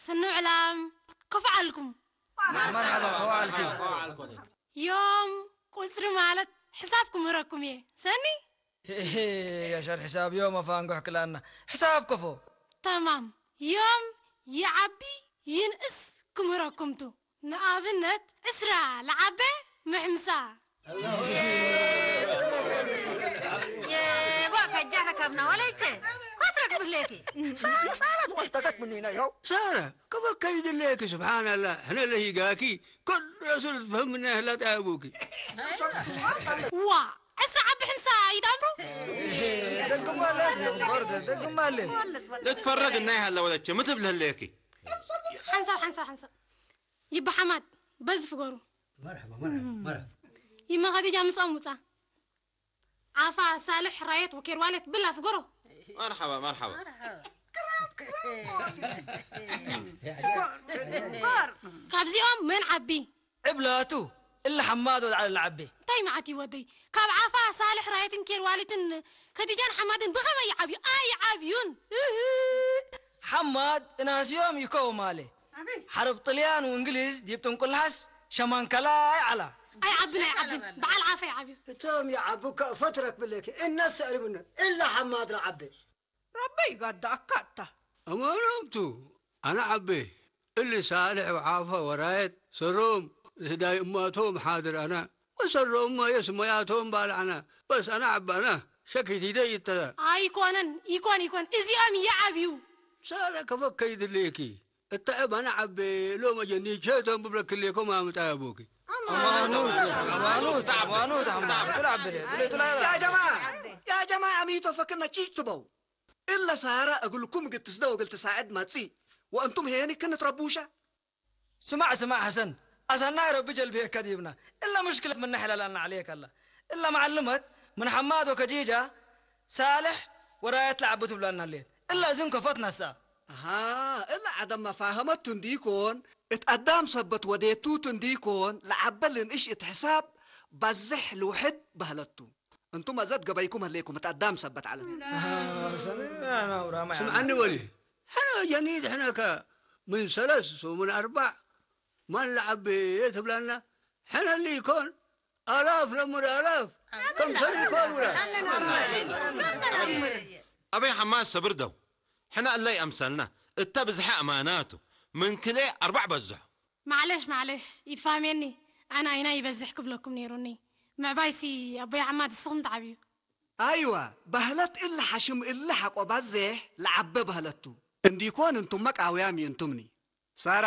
ስኑ ዕላም፣ ከፍ ዓልኩም። መርሓባ፣ ከፍ ዓልኪ። ዮም ቁጽሪ ማለት ሕሳብ ክምህረኩም እየ። ሰኒ? የሻር ሕሳብ ዮም ኣፋንጉሕ ክላና። ሕሳብ ከፎ። ተማም። ዮም ይዓቢ ይንእስ ክምህረኩምቱ። ንኣብነት ዕስራ ለዓበ ምሕምሳ። የቦ ከጃ ረከብና ወለቼ ኮትረክ ብሌኪ። ሳራ ሳራ ትቆልጠከት ምኒና ይኸው። ሳራ ከበከይ ድሌኪ ስብሓንላ ሕነ ለሂጋኪ። كل رسول تفهمنا لا تعبوكي. ዋ ዕስራ ዓቢ ሕምሳ ይዳምሩ። ደግማለ። ደግማለ። ልትፈረግ እናይ ሃለ ወለቼ ምትብል ህለየኪ። ሓንሳብ ሓንሳብ ሓንሳብ ይባ ሓማድ በዚ ፍገሩ። مرحبا مرحبا مرحبا. ይመኸዲጃ ምስኦም ውፃ። ዓፋ ሳልሕ ራየት ወኬር ዋሌት ብላ ፍገሮ። መርሓባ መርሓባ። ካብዚኦም መን ዓቢ? ዕብላቱ እለ ሓማድ ወድዓለ ዓቢ። እንታይ መዓት እዩ ወደይ? ካብ ዓፋ ሳልሕ ራየትን ኬር ዋሌትን ከዲጃን ሓማድን ብኸመይ ይዓብዩ? ኣይዓብዩን። ሓማድ እናስዮም ይከው ማለ ሓረብ ጥልያን ወእንግሊዝ ዲብ ጥንቁልሓስ ሸማንከላ ኣይዓላ። ኣይዓብን ኣይዓብን በዓል ዓፋ ይዓብዩ። እቶም ይዓቡ ከእፈት ረክብለኪ እነስ ዕልምነ እለ ሓማድ ረዓበ። ረበይ ጋዳ ኣካታ። ኣማናምቱ ኣነ ዓቤ እሊ ሳልሕ ወዓፋ ወራየት ሰሮም ስዳይ እማቶም ሓድር ኣነ ወሰሮም የስመያቶም ባል ኣነ በስ ኣነ ዓቢ ኣነ ሸኪት ይደይ ይተላ። ኣይኮነን። ይኮን ይኮን እዚኦም ይዓብዩ። ሳረ ከፈከይ ድሌኪ እተዐብ ኣነ ዓቤ ሎም ኣጀኒቸቶም ብብለክሌኮም ኣምጣ ያቦኪ። أمانوت أمانوت أمانوت أحمد تلعب بلي تلعب يا جماعة يا جماعة ميتو فكرنا تشيش تبو إلا سارة أقول لكم قلت سدو قلت ساعد ما تسي وأنتم هيني كنا تربوشة. ስማዕ ስማዕ ሐሰን ኣሳናይ ረቢ ጀልብየካ ዲብና እላ ምሽክለት ምና ሕላላና ዓለየካ ኣላ እላ መዓልመት ምን ሓማድ ወከጂጃ ሳልሕ ወራየት ለዓቡ ትብላና ሌት እላ እዝን ከፈት ነሳ። ኣሃ እላ ዓደም መፋህመቱ እንዲኮን እት ኣዳም ሰበት ወዴቱቱ እንዲኮን ለዓበልን እሽ እት ሕሳብ ባዝሕ ልውሕድ ባህለቱ። እንቱም ኣዘት ገበይኩም ህሌኩም እት ኣዳም ሰበት ዓለም። ስምዓኒ ወሊ ሕነ ጀኒድ ሕነከ ምን ሰለስ ወምን ኣርባዕ ማን ለዓቤ ትብላና ሕነ ሊኮን ኣላፍ ለሙድ ኣላፍ ከምሰል ይኮን ውላ ኣበይ ሓማስ ሰብር ደው ሕነ እለይ ኣምሰልና እተ ብዝሐ ኣማናቱ ምን ክልኤ ኣርባዕ በዝሖ። ማዕለሽ ማዕለሽ ይትፋህሜኒ ኣነ ኣይና ይበዝሕ ክብለኩም ነይሩኒ ምዕባይሲ ኣቦይ ሓማድ እስኹም ትዓብዩ። ኣይዋ ባህለት እለ ሓሽም እለ ሓቆ ባዜሕ ለዓበ ባህለቱ እንዲኮን እንቱመ ቃውያም ይእንቱምኒ። ሳራ